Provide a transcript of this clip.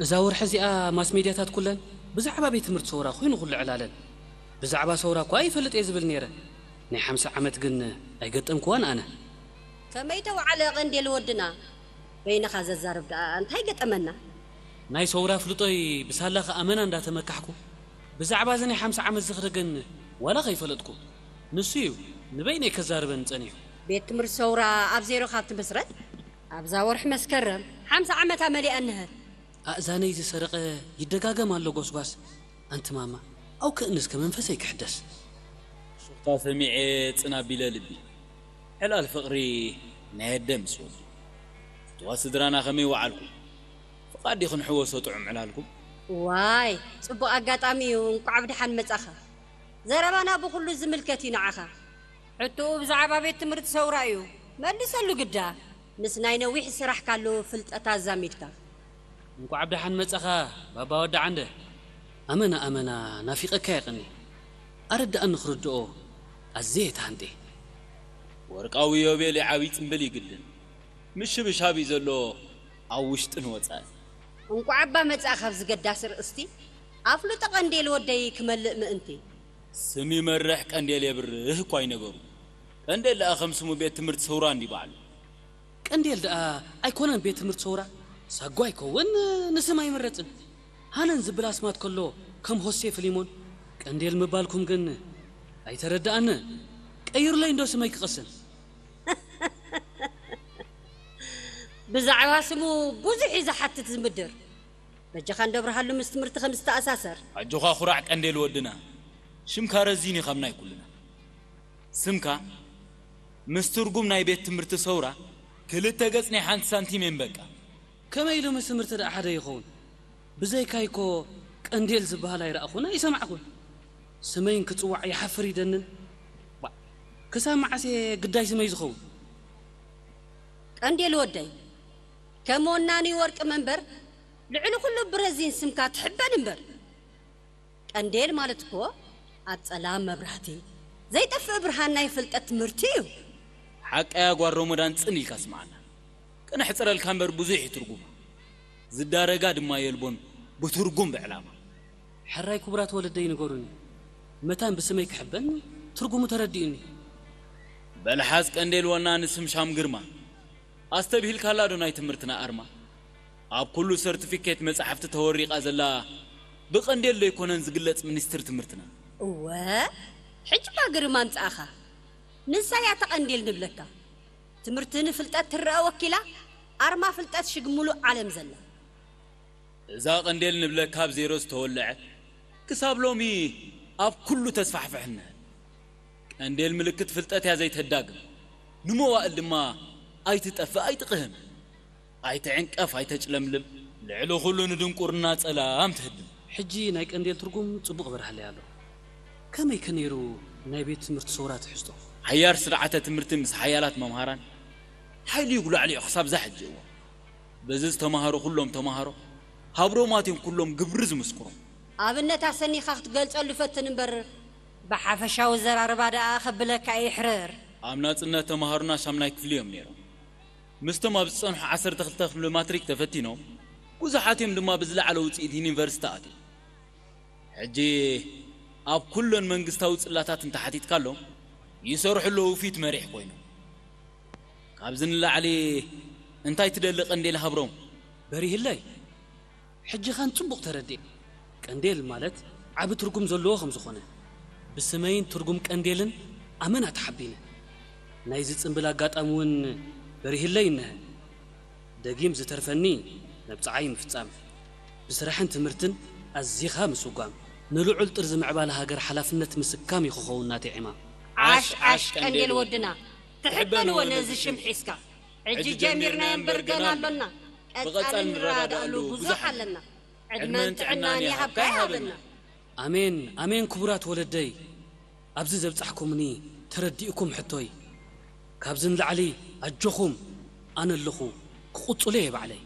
እዛ ወርሒ እዚኣ ማስ ሜድያታት ኩለን ብዛዕባ ቤት ትምህርቲ ሰውራ ኮይኑ ኩሉ ዕላለን። ብዛዕባ ሰውራ እኳ ይፈልጥ እየ ዝብል ነይረ። ናይ ሓምሳ ዓመት ግን ኣይገጠምክዋን ኣነ። ከመይ ተወዓለ ቀንዴል ወድና? በይንኻ ዘዛርብ ደኣ እንታይ ገጠመና? ናይ ሰውራ ፍልጦይ ብሳላኻ ኣመና እንዳተመካሕኩ፣ ብዛዕባ እዚ ናይ ሓምሳ ዓመት ዝኽሪ ግን ዋላ ከይፈለጥኩ። ንሱ እዩ ንበይነይ ከዛርበኒ ጸኒሑ። ቤት ትምህርቲ ሰውራ ኣብ ዜሮ ካብ ትምስረት ኣብዛ ወርሒ መስከረም ሓምሳ ዓመታ መሊኣ እንሀ። ኣእዛነይ ዝሰረቐ ይደጋገም ኣሎ ጎስጓስ። ኣንቲ ማማ፣ ኣው ክእንስ ከመንፈሰይ ክሕደስ። ሹኽታ ሰሚዐ ጽን ኣቢለ ልቢ። ዕላል ፍቕሪ ናይ ኣደ ምስ ወዱ። ፍትዋ ስድራና ከመይ ወዓልኩም? ፍቓድ ዲኹም ሕወሶ ጥዑም ዕላልኩም? ዋይ፣ ጽቡቕ ኣጋጣሚ እዩ። እንቋዕ ብደሓን መጻኻ። ዘረባና ብኹሉ ዝምልከት እዩ ንዓኻ። ሕቶኡ ብዛዕባ ቤት ትምህርቲ ሰውራ እዩ። መልሰሉ ግዳ። ምስ ናይ ነዊሕ ስራሕ ካሉ ፍልጠት ኣዛሚድካ። እንቋዕ ብደሓን መጻኻ ባባ ወዲ ዓንደ። ኣመና ኣመና ናፊቐካ የቐኒ። ኣረዳእኒ ክርድኦ ኣዝየ ተሃንጤ። ወርቃዊ ዮቤል ዓብዪ ጽምብል ይግድን። ምሽብሻብ እዩ ዘሎ ኣብ ውሽጥን ወጻእን። እንቋዕ እባ መጻእካ ኣብዚ ገዳሲ ርእስቲ። ኣፍልጦ ቀንዴል ወደይ ክመልእ ምእንቲ። ስም ይመርሕ ቀንዴል የብርህ እኳ ይነገሩ። ቀንዴል ደኣ ከም ስሙ ቤት ትምህርቲ ሰውራ እንዲ ባዕሉ። ቀንዴል ደኣ ኣይኮነን ቤት ትምህርቲ ሰውራ። ሳጓ ይከውን ንስም ኣይምረጽን። ሃነን ዝብል ኣስማት ከሎ ከም ሆሴ ፍሊሞን። ቀንዴል ምባልኩም ግን ኣይተረድኣንን። ቀይሩለይ እንዶ ስመይ ክቐስን። ብዛዕባ ስሙ ብዙሕ እዩ ዝሓትት ዝምድር። በጃኻ እንዶ ኣብርሃሉ ምስ ትምህርቲ ከም ዝተኣሳሰር። ኣጆኻ ኩራዕ ቀንዴል ወድና። ሽምካ ረዚን እዩ ካብ ናይ ኩልና። ስምካ ምስ ትርጉም ናይ ቤት ትምህርቲ ሰውራ ክልተ ገጽ ናይ ሓንቲ ሳንቲም እየን በቃ። ከመይ ኢሉ ምስ ትምህርቲ ደኣ ሓደ ይኸውን? ብዘይካይ እኮ ቀንዴል ዝበሃል ኣይረኣኹን ኣይሰማዕኩን። ስመይን ክጽዋዕ ይሓፍር ይደንን። ባ-፣ ክሳብ መዓስ እየ ግዳይ ስመይ ዝኸውን? ቀንዴል ወደይ፣ ከም ወናኒ ወርቂ መንበር ልዕሊ ኩሉ ብረዚን ስምካ ትሕበን እምበር። ቀንዴል ማለት እኮ ኣብ ጸላም መብራህቲ፣ ዘይጠፍእ ብርሃን ናይ ፍልጠት ትምህርቲ እዩ። ሓቀያ ጓል ሮሞዳን ጽን ኢልካ ስምዓና። ከነሕጽረልካ እምበር ብዙሕ እዩ ትርጉማ። ዝዳረጋ ድማ የልቦን ብትርጉም ብዕላማ። ሕራይ ክቡራት ወለደይ ንገሩኒ፣ መታን ብስመይ ክሕበን ትርጉሙ ተረዲኡኒ። በልሓዝ ቀንዴል ወና ንስም ሻም ግርማ። ኣስተብሂልካላ ዶ ናይ ትምህርትና ኣርማ? ኣብ ኩሉ ሰርቲፊኬት መጻሕፍቲ ተወሪቓ ዘላ ብቐንዴል ዶ ኣይኮነን ዝግለጽ ሚኒስትር ትምህርትና? እወ፣ ሕጂ እባ ግርም ኣምጻእኻ። ንሳ እያ እታ ቀንዴል ንብለካ። ትምህርቲ ንፍልጠት ትረኣ ወኪላ፣ ኣርማ ፍልጠት ሽግ ሙሉእ ዓለም ዘላ። እዛ ቀንዴል ንብለካ ኣብ ዜሮ ዝተወልዐ፣ ክሳብ ሎሚ ኣብ ኩሉ ተስፋሕፍሕ እነሀ። ቀንዴል ምልክት ፍልጠት እያ ዘይተዳግም፣ ንመዋእል ድማ ኣይትጠፍእ ኣይትቕህም። ኣይትዕንቀፍ ኣይተጭለምልም፣ ልዕሊ ኩሉ ንድንቁርና ጸላም ትህድም። ሕጂ ናይ ቀንዴል ትርጉም ጽቡቕ በርሃለይ ኣሎ። ከመይ ከ ነይሩ ናይ ቤት ትምህርቲ ሰውራ ትሕዝቶ? ሓያር ስርዓተ ትምህርቲ ምስ ሓያላት መምሃራን ሓይሊ ይጉላዕ ልዑ ክሳብ እዛ ሕጂ እዋን። በዚ ዝተማሃሩ ኩሎም ተማሃሮ ሃብሮማት እዮም ኩሎም ግብሪ ዝምስክሩ። ኣብነት ኣሰኒኻ ክትገልጸሉ ፈትን እምበር ብሓፈሻዊ ዘራርባ ደኣ ከብለካ ይሕርር። ኣብ ናጽነት ተማሃሩና ሻምናይ ክፍሊ እዮም ነይሮም። ምስቶም ኣብ ዝጸንሑ ዓሰርተ ክልተ ክፍሊ ማትሪክ ተፈቲኖም ብዙሓት እዮም ድማ ብዝለዓለ ውጽኢት ዩኒቨርሲቲ ኣትዮም። ሕጂ ኣብ ኩለን መንግስታዊ ጽላታት እንተሓቲትካሎም ይሰርሑ ኣለዉ ፊት መሪሕ ኮይኖም። ካብዚ ንላዕሊ እንታይ ትደሊ ቀንዴል ሃብሮም? በሪህለይ፣ ሕጂ ኻን ጽቡቕ ተረዲእ። ቀንዴል ማለት ዓቢ ትርጉም ዘለዎ ከም ዝኾነ፣ ብስመይን ትርጉም ቀንዴልን ኣመና ተሓቢነ። ናይዚ ጽምብል ኣጋጣሚ እውን በሪህለይ እንሀ። ደጊም ዝተርፈኒ መብጽዓይ ምፍጻም፣ ብስራሕን ትምህርትን ኣዚኻ ምስጓም፣ ንልዑል ጥርዚ ምዕባለ ሃገር ሓላፍነት ምስካም እዩ ክኸውን ናተይ ዕማም። ዓሽ ዓሽ ቀንዴል ወድና፣ ትሕበንዎ ነዚ ሽም ሒዝካ። ሕጂ ጀሚርናዮ እምበር ገና ኣሎና፣ ቀጻሊ ንረዳድኣሉ ብዙሕ ኣለና። ዕድመን ጥዕናን ይሃብካ ይሃበና። ኣሜን ኣሜን ክቡራት ወለደይ፣ ኣብዚ ዘብጻሕኩምኒ ተረዲእኩም ሕቶይ። ካብዚ ንላዕሊ ኣጆኹም፣ ኣነ ኣለኹ፣ ክቕጽሎ እየ ባዕለይ።